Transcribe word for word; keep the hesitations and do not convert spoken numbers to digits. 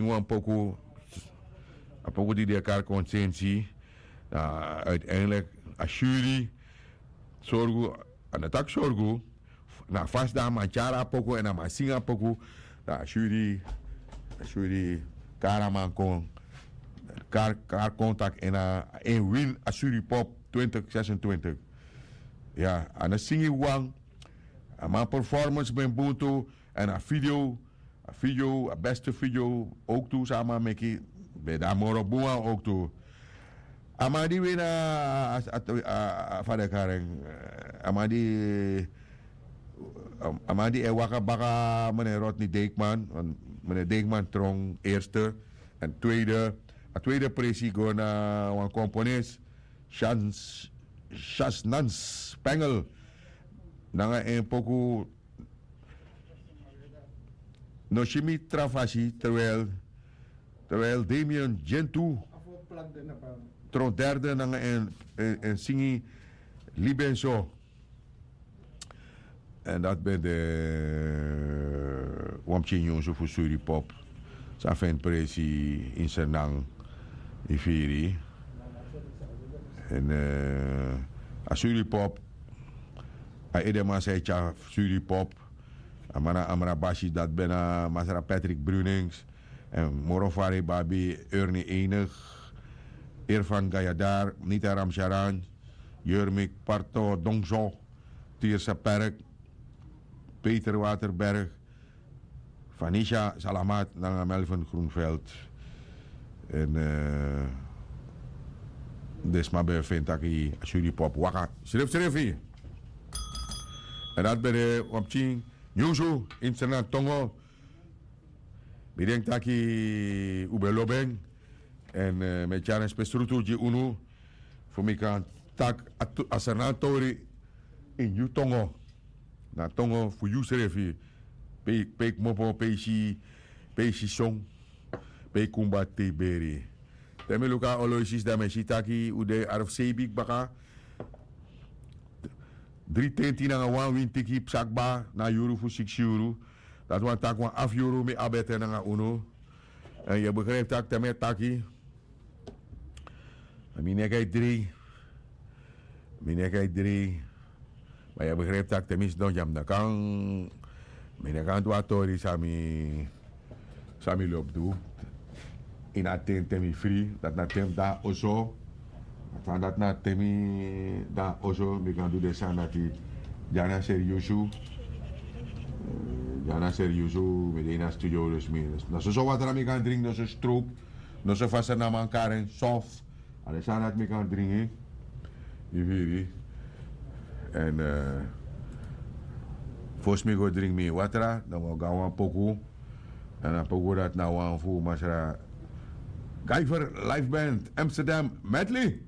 wan poku, a poku di de kari konsensi. Na uiteindelijk a suri sorgu, a no taki sorgu, na fasi dan a man tyari a poku èn a man singi a poku. Dan a suri, a suri kari a man kon, kari kari kon taki èn a en win a suri pop twintig zesentwintig. Ya, a no singi wan. A man performance ben bun tu. Èn a video, a video a beste video, owktu san a man meki, ben de a moro bun wan owktu. A man di wini a, a, a, a, a fa den kari en, a man di, a, a man di e waka baka meneer Rodney Dijkman, want meneer Dijkman tron eerste en tweede. A tweede presi go na wan komponis, Shans, Shasnans Pengel, nanga en poku No si mi tra fasi, terwijl, terwijl Damien Gentoo tron derde nanga en, en, en singi Libenso. En dat ben de Wamchi Nyunsu fu Suripop. Sa fen presi in Sernang, i firi. En eh, a Suripop, a edeman sa e tya Suripop. A man na Amra Basi, dat ben na Masra Patrick Brunings. En moro fari babi Ernie Enig, Irfan Gayadar, Nita Ramcharan, Jurmik Parto Dongso, Tirsa Perk, Peter Waterberg, Vanisha Salamat nanga Melvin Groenveld. En eh, den sma ben feni taki a Suripop waka srefsrefi. En dat ben de Wamchi Nyunsu in Sernang tongo. Mi denki taki un ben lobi en. En eh, mi e tyari en spesrutu gi unu, fu mi kan taki a, a Sernang tori in yu tongo. Na tongo fu yusrefi. Pe, pe kmopo, pe isi, pe isi son, pe kumba te beri. Te mi luku a oloisis, dan mi e si taki un de arfu sei bigi baka. Dri tenti nanga wan wintiki psa kba na yuru fu siksi yuru. Dati wani taki wan afu yuru mi abi ete nanga unu. En yu e begrijpi taki te mi e taki, mi neki e drei. Mi neki e drei. Ma yu e begrijpi taki te mi sidon gi a mi no kan, mi no kan du a tori san mi, san mi lobi du. Ini a ten te mi fri, dati na ten fu de na oso. San dati na ten mi de na oso, mi kan du den sani dati. Dyana seriusu. Eh, dyana seriusu, mi de ini a studio, dus mi, na soso watra mi kan dringi, no so stroop, no so fa Sernanman kari en, sof. A den sani dati mi kan dringi. Yu firi? En eh, fosi mi go dringi mi watra, dan mi o go na wan poku. En a poku dati na wan fu Masra Guyver Live Band Amsterdam Medley.